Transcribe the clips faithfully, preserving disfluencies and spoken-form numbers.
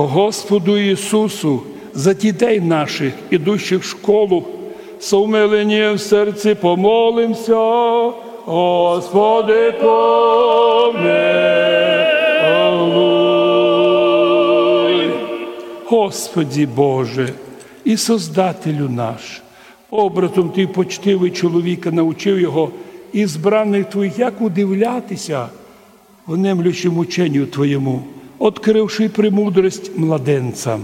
Господу Ісусу, за дітей наших, ідущих в школу, з умиленням в серці помолимся. Господи, помилуй. Господи Боже і Создателю наш, образом Ти почтив чоловіка, научив його, избраных Твоїх, як удивлятися внемлющим ученню Твоєму, открывши премудрость младенцям.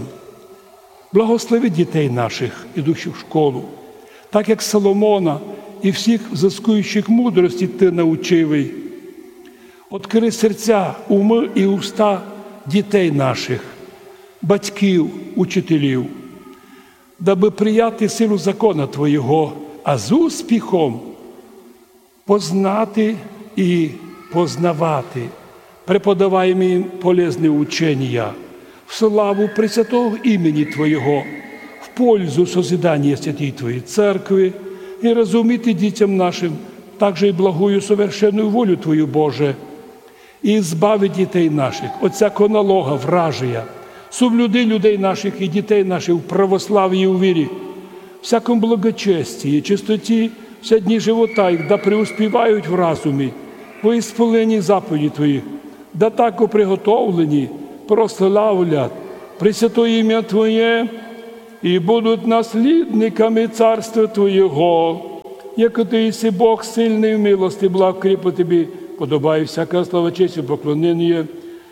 Благослови дітей наших, ідущих в школу, так як Соломона і всіх взыскуючих мудрости Ти научив. Открыв серця, умы і уста дітей наших, батьків, учителів, дабы прияти силу закона Твоєго, а з успіхом познати і познавати преподаваємі їм полезні ученія в славу пресвятого імені Твоєго, в пользу созидания святій Твоєй церкви і розуміти дітям нашим также і благую совершенную волю Твою, Боже, і збави дітей наших от всякого налога вражия, соблюди людей наших і дітей наших в православії і у вірі, всяком благочестії, чистоті вся дні живота їх, да преуспівають в разумі, во ісполненні заповіді Твоїх, да так приготовлені прославлять пресвятоє імя Твоє і будуть наслідниками царства Твоєго. Як Ти єси Бог сильный в милости, благ, кріпу Тобі подобає всяка слава, честь і поклонення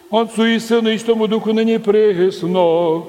Отцу і Сину і Святому Духу, нині і присно